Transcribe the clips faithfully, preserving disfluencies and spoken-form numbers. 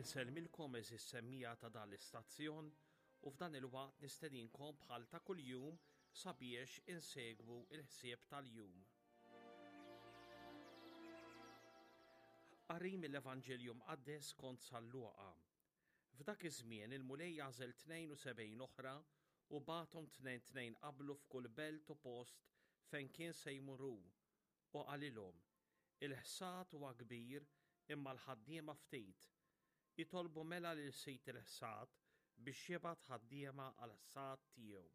Insellmilkom għeżież semmiegħa ta' dan l-istazzjon u f'dan il-waqt nistedinkom bħal ta' kuljum sabiex insegwu il-ħsieb tal-jum. Qari mill-Evanġelju Mqaddes skont San Luqa. F'dak iż-żmien il-Mulej għażel tnejn u sebgħin oħra u bagħathom tnejn tnejn qablu f'kull belt u post fejn kien se jmur hu, u qalilhom, Il-ħsad huwa kbir imma l-ħaddiema ftit. Itolbu mela lil Sid il-ħsad biex jibgħat ħaddiema għall-ħsad tiegħu.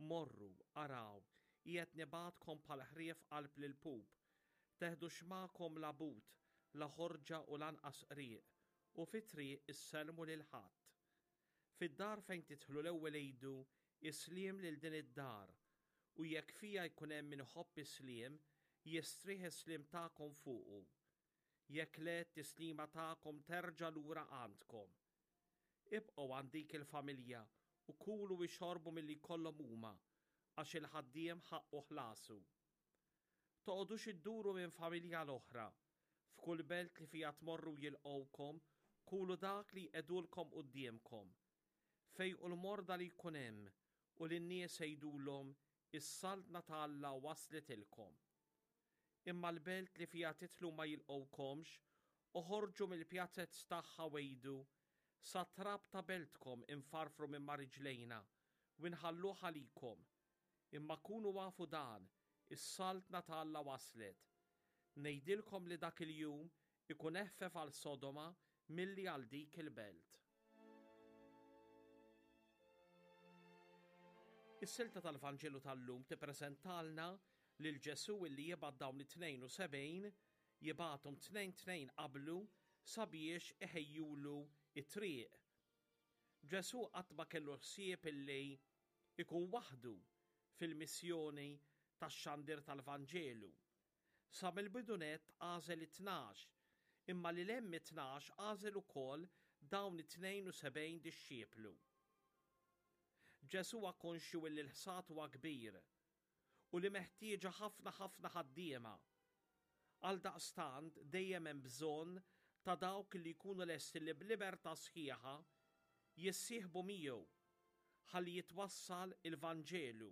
Morru, araw, qiegħed nibgħatkom bħal ħrief qalb l-ilpup. Teħdux magħkom la but, la ħorġa u lanqas qrieq, u fit-triq issellmu lil ħadd. Fid-dar fejn tidħlu l-ewwel għidu, Is-sliem lil din id-dar, u jekk fiha jkun hemm min iħobb is-sliem, jistrieħ is-sliem tagħkom fuqu. Jekk le, t-tislima tagħkom terġa' lura għandkom. Ibqgħu għand dik il-familja u kulu u xorbu milli jkollhom huma, għax il-ħaddiem ħaqqu ħlasu. Toqgħodux idduru minn familja l-oħra. F'kull belt li fiha tmorru jilqgħukom, kulu dak li jqegħdulkom quddiemkom. Fejqu l-morda li jkun hemm u lin-nies għidulhom, Is-saltna ta' Alla waslitilkom. Imma l-belt li fiha tidħlu ma jilqgħukomx, oħorġu mill-pjazez tagħha u għidu, Sat-trab ta' beltkom infarfru minn ma' riġlejna u nħalluh għalikom. Imma kunu afu dan, is-saltna ta' Alla waslet. Ngħidilkom li dak il-jum ikun eħfef għal Sodoma milli għal dik il-belt. Is-silta tal-Vanġelu tal-lum tippreżentalna lil Ġesù illi jibgħat dawn it-tnejn u sebgħin, jibgħathom tnejn tnejn qablu sabiex iħejjulu it-triq. Ġesù qatt ma kellu ħsieb illi ikun waħdu fil-missjoni tax-xandir tal-Vanġelu. Sa mill-bidu nett għażel it-tnax, imma lil hemm it-tnax għażel ukoll dawn it-tnejn u sebgħin dixxiplu. Ġesù huwa konxju illi l-ħsad huwa kbir u li meħtieġa ħafna ħafna ħaddiema. Għaldaqstant dejjem hemm bżonn ta' dawk li jkunu lesti li b'libertà sħiħa jissieħbu miegħu ħalli jitwassal il-Vanġelu.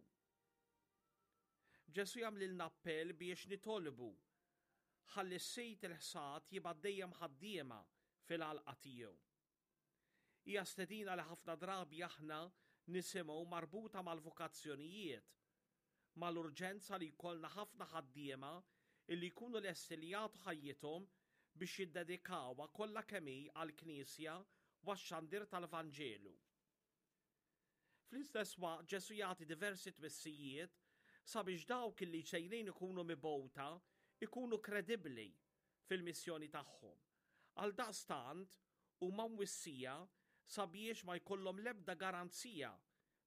Ġesù jagħmlilna appell biex nitolbu ħalli s-Sid il-ħsad jibgħat dejjem ħaddiema fil-għalqa tiegħu. Hija stedina li ħafna drabi aħna nisimgħu marbuta mal-vokazzjonijiet, mal-urġenza li jkollna ħafna ħaddiema illi jkunu lesti li jagħtu ħajjithom biex jiddedikawha kollha kemm hi għall-Knisja u għax-xandir tal-Vanġelu. Fl-istess waqt Ġesù jagħti diversi twissijiet sabiex dawk illi sejrin ikunu mibgħuta ikunu kredibbli fil-missjoni tagħhom. Għaldaqstant huma mwissija sabiex ma jkollhom l-ebda garanzija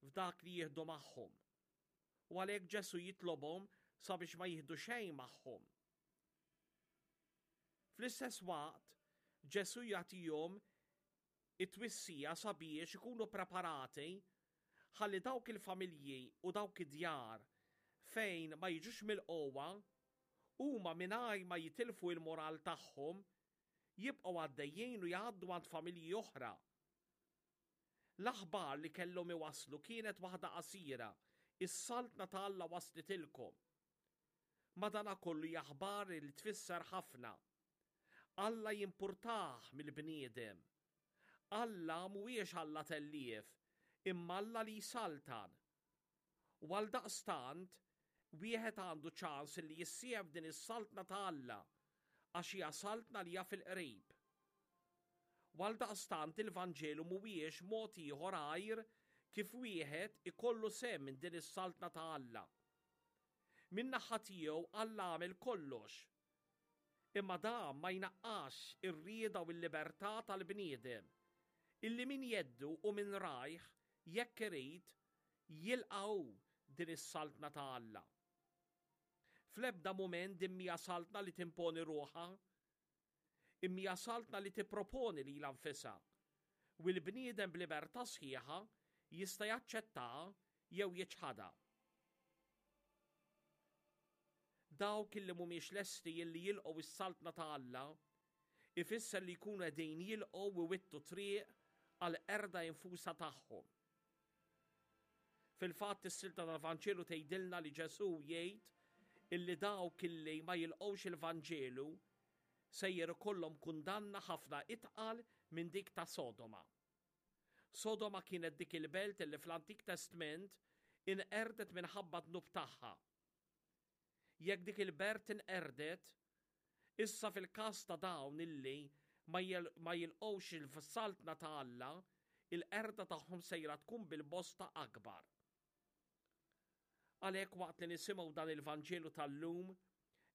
f'dak li jieħdu magħhom. U għalhekk Ġesù jitlobhom sabiex ma jieħdu xejn magħhom. Fl-istess waqt, Ġesù jagħtihom it-twissija sabiex ikunu preparati ħalli dawk il-familji u dawk id-djar fejn ma jiġux mill-qowwa huma mingħajr ma jitilfu il-moral tagħhom jibqgħu għaddejjin u jgħaddu għand familji oħra. L-aħbar li kellhom iwasslu kienet waħda qasira, is-saltna ta' Alla waslitilkom. Madanakollu hija aħbar li tfisser ħafna. Alla jimpurtah mill-bniedem. Alla mhuwiex Alla tellief, imma Alla li jsaltan. U għaldaqstant, wieħed għandu ċans li jissieħeb din is-saltna ta' Alla, għax hija saltna li hija fil-qrib. U għaldaqstant il-Vanġelu mhuwiex mod ieħor għajr kif wieħed ikollu sehem minn din is-saltna ta' Alla. Min-naħa tiegħu Alla għamel kollox. Imma dan ma jnaqqax ir-rieda u l-libertà tal-bniedem, illi min jeddu u min rajh jekk irid jilqgħu din is-saltna ta' Alla. Fl-ebda mument din mhija saltna li timponi ruħha, imma hija saltna li tipproponi lilha nfisha, u l-bniedem b'libertà sħiħa jista' jaċċettaha jew jiċħadha. Dawk illi mhumiex lesti illi jilqgħu is-saltna ta' Alla ifisser li jkunu qegħdin jilqgħu u wittu triq għall-qerda infusa tagħhom. Fil-fatt, is-silta tal-Vanġelu tgħidilna li Ġesù jgħid illi dawk illi ma jilqgħux il-Vanġelu sejjer ikollhom kundanna ħafna itqal minn dik ta' Sodoma. Sodoma kienet dik il-belt illi fl-Antik Testment inqerdet minħabba dnub tagħha. Jekk dik il-belt inqerdet, issa fil-każ ta' dawn illi ma jilqgħux il-saltna ta' Alla, il-qerda tagħhom sejra tkun bil-bosta akbar. Għalhekk, waqt li nisimgħu dan il-Vanġelu tal-lum,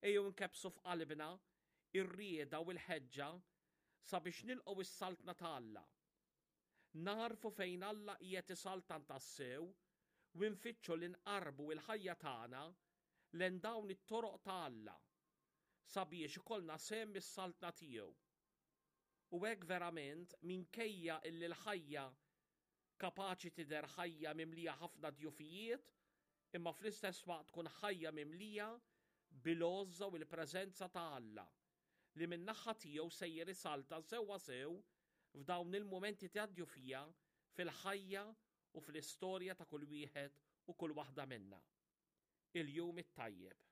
ejjew nkebbsu f'qalbna ir-rieda u l-ħeġġa sabiex nilqgħu is-saltna ta' Alla. Narfu fejn Alla qiegħed isaltan tassew u nfittxu li nqarbu il-ħajja tagħna lejn dawn it-toroq ta' Alla sabiex ikollna sehem is-saltna tiegħu. U hekk verament, minkejja illi l-ħajja kapaċi tidher ħajja mimlija ħafna djufijiet, imma fl-istess waqt tkun ħajja mimlija bil-għożża u l-preżenza ta' Alla li min-naħa tiegħu sejjer isaltan sewwa sew f'dawn il-mumenti ta' djufija fil-ħajja u fl-istorja ta' kull wieħed u kull waħda minna. Il-jum it-tajjeb.